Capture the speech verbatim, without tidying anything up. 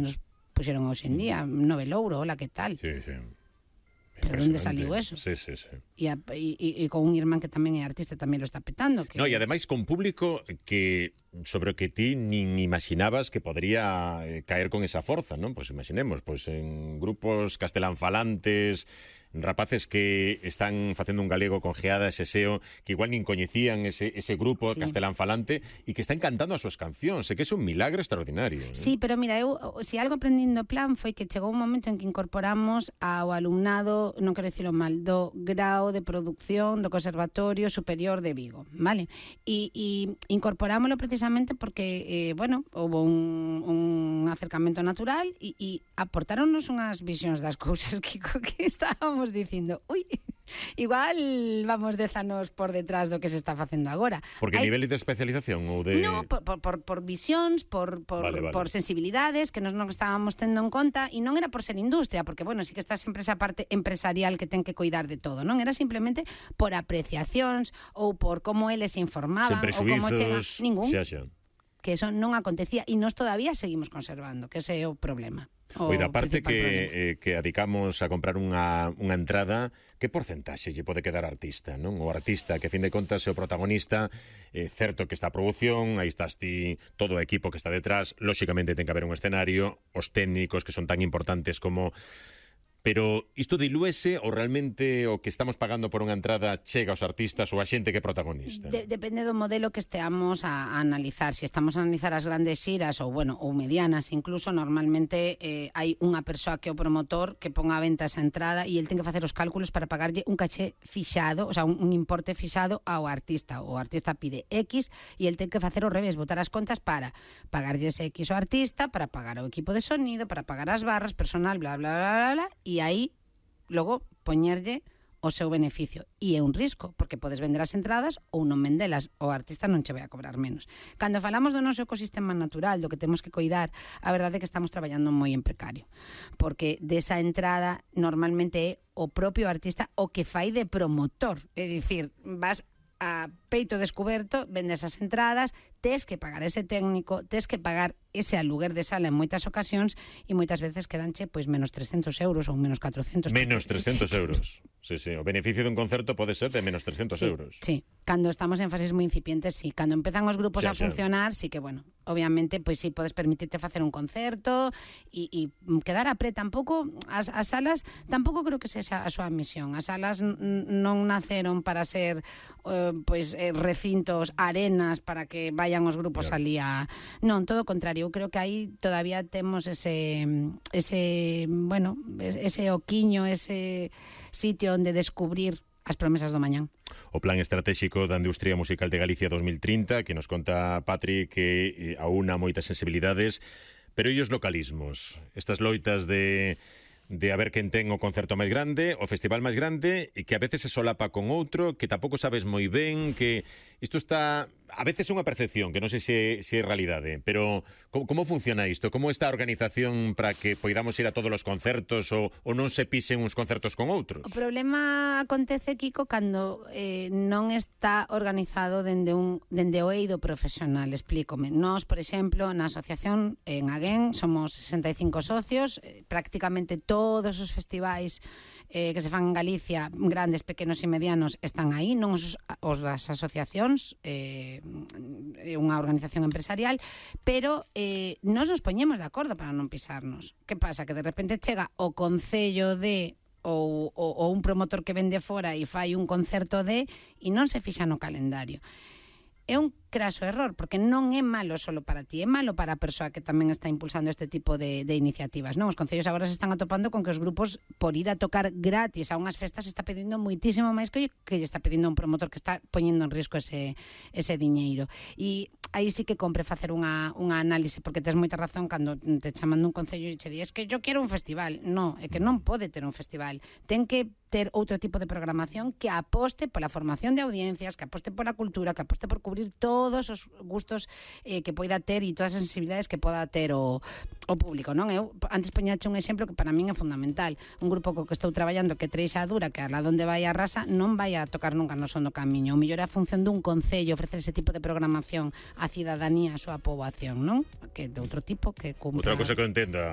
nos puxeron hoxe en día, Nove Louro, hola, que tal? Sí, sí. Pero onde saliu eso? Sí, sí, sí. E, a, e, e con un irmán que tamén é artista tamén lo está petando. Que... No, e ademais con público que sobre o que ti nin imaginabas que podría eh, caer con esa forza, non? Pois imaginemos, pois en grupos castelanfalantes, rapaces que están facendo un galego con geada ese seo, que igual nin coñecían ese, ese grupo sí. castelanfalante e que están cantando as súas cancións, e que é un milagre extraordinario. ¿eh? Sí, pero mira, eu, se algo aprendindo plan foi que chegou un momento en que incorporamos ao alumnado, non quero dicilo mal, do grao de producción do Conservatorio Superior de Vigo, vale? E, e incorporámoslo precisamente porque, eh, bueno, houve un, un acercamento natural e, e aportáronnos unhas visións das cousas, Kiko, que estábamos dicindo, ui, igual vamos dez anos por detrás do que se está facendo agora. Porque Hai... nivel de especialización ou de... No, por, por, por, por visións, por, por, vale, vale. por sensibilidades que nos non estábamos tendo en conta, e non era por ser industria, porque, bueno, sí que está sempre esa parte empresarial que ten que coidar de todo, non? Era simplemente por apreciacións ou por como eles se informaban ou como chega... Ningún. Xa, xa. Que eso non acontecía e nós todavía seguimos conservando, que ese é o problema. Oida, aparte que, eh, que adicamos a comprar unha, unha entrada, que porcentaxe lle pode quedar artista, non? O artista, que a fin de contas é o protagonista, é eh, certo que está a produción, aí estás ti, todo o equipo que está detrás, lóxicamente ten que haber un escenario, os técnicos que son tan importantes como... Pero isto dilúese ou realmente o que estamos pagando por unha entrada chega aos artistas ou a xente que é protagonista? De, depende do modelo que esteamos a, a analizar. Se estamos a analizar as grandes xiras ou, bueno, ou medianas, incluso, normalmente eh, hai unha persoa que é o promotor que ponga a venta esa entrada e el ten que facer os cálculos para pagarlle un caché fixado, o sea, un, un importe fixado ao artista. O artista pide X e el ten que facer o revés, botar as contas para pagarlle ese X ao artista, para pagar o equipo de sonido, para pagar as barras, personal, bla, bla, bla, bla, bla, e aí logo poñerlle o seu beneficio. E é un risco, porque podes vender as entradas ou non vendelas, o artista non che vai a cobrar menos. Cando falamos do noso ecosistema natural, do que temos que coidar, a verdade é que estamos traballando moi en precario, porque desa entrada normalmente é o propio artista o que fai de promotor, é dicir, vas a peito descuberto, vendes as entradas, tes que pagar ese técnico, tes que pagar ese aluguer de sala en moitas ocasións e moitas veces quedanche pois menos trescentos euros ou menos catrocentos. Menos trescentos euros. Sí, sí, o beneficio dun concerto pode ser de menos trescentos sí, euros. Sí, cando estamos en fases moi incipientes, sí. Cando empezan os grupos xa, a funcionar, xa. Sí que, bueno, obviamente, pois sí, podes permitirte facer un concerto e, e quedar a pre. Tampouco, as, as salas, tampouco creo que sexa a súa misión. As salas non naceron para ser, uh, pois, eh, recintos, arenas, para que vayan os grupos claro. ali a... Non, todo o contrario. Eu creo que aí todavía temos ese, ese, bueno, ese oquiño, ese sitio onde descubrir as promesas do mañán. O Plan Estratégico da Industria Musical de Galicia dos mil trinta, que nos conta Patri que aúna moitas sensibilidades, pero e os localismos, estas loitas de... de a ver quen ten o concerto máis grande, o festival máis grande, e que a veces se solapa con outro, que tampouco sabes moi ben, que isto está... A veces é unha percepción, que non sei se, se é realidade, pero como, como funciona isto? Como está a organización para que poidamos ir a todos os concertos ou, ou non se pisen uns concertos con outros? O problema acontece, Kiko, cando eh, non está organizado dende, un, dende o eido profesional, explícome. Nós, por exemplo, na asociación en Aguén somos sesenta e cinco socios, eh, prácticamente todos os festivais eh, que se fan en Galicia, grandes, pequenos e medianos, están aí, non os, os das asociacións, eh, é unha organización empresarial, pero eh, nós nos poñemos de acordo para non pisarnos. Que pasa? Que de repente chega o concello de ou, ou, ou un promotor que vende fora e fai un concerto de e non se fixa no calendario. É un craso error, porque non é malo solo para ti, é malo para a persoa que tamén está impulsando este tipo de, de iniciativas, non? Os concellos agora se están atopando con que os grupos, por ir a tocar gratis a unhas festas, está pedindo moitísimo máis que que lle está pedindo un promotor que está poñendo en risco ese, ese diñeiro. E aí sí que compre facer unha, unha análise, porque tes moita razón cando te chaman dun concello e che di, es que yo quero un festival. Non, é que non pode ter un festival. Ten que ter outro tipo de programación que aposte pola formación de audiencias, que aposte pola cultura, que aposte por cubrir todos os gustos eh, que poida ter e todas as sensibilidades que poda ter o, o público, non? Eu antes poñache un exemplo que para min é fundamental. Un grupo co que estou traballando que Treixa Dura, que a la donde vai a rasa, non vai a tocar nunca no son do camiño. O mellor é a función dun concello ofrecer ese tipo de programación á cidadanía, á súa poboación, non? Que de outro tipo que cumpra... Outra cosa que eu entenda,